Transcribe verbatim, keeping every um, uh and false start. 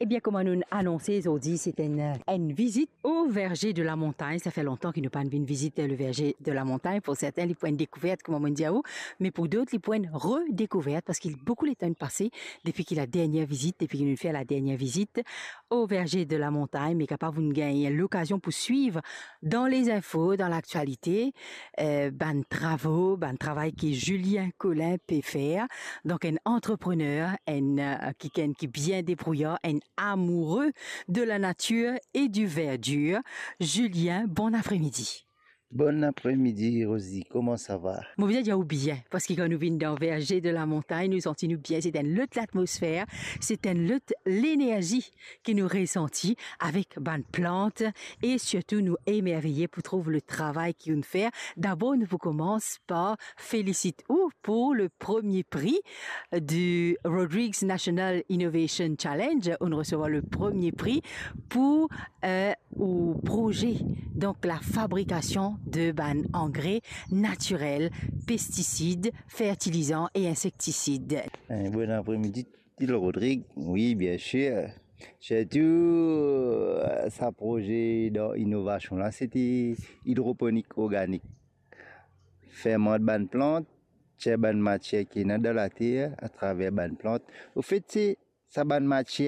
Ebien, kouma nou anonse, zordi se enn, enn vizit au Verger de la Montagne. Sa fer lontan ki nou pa'nn vinn vizit le Verger de la Montagne. Pou sertin, li pou enn dekouvert, kouma mo dir ou, me pou dot, li pou enn redekouvert, parski boukou letan inn pase depi ki la dernie vizit, depi ki nou fer la dernie vizit au Verger de la Montagne, me kapav ou'nn gagn lokazion pou swiv dan lezinfo, dan laktialite, eh, bann travo, bann travay ki Julien Collin pe fer. Donk, enn antreprener, enn, eh, kikenn ki bien debrouye, enn amoureux de la nature et du verdure. Julien, bon apremidi. Bon apremidi, Rosie, kouma sa va? Mo bizin dir ou bien, parski kan nou vinn dan Verger de la Montagne, nou santi nou bien, se enn lot latmosfer, se enn lot lenerzi ki nou resanti avek bann plant, e sirtou nou emerveye pou trouv le travay ki ou'nn fer. Dabor, nou pou koumans par felisit ou pou le premie pri du Rodrigues National Innovation Challenge. Ou'nn resevwar le premie pri pou, eh, ou proze, donk la fabrikasion de bann angre natirel, pestisid, fertilizan e insektisid. Eh, bon apremidi, Til Rodrig. Wi, biensir. Sirtou, eh, sa proze dan inovasion la, se ti idroponik organik. Fermant bann plant, tir bann matier ki ena dan later atraver bann plant. Anfet, se sa bann matier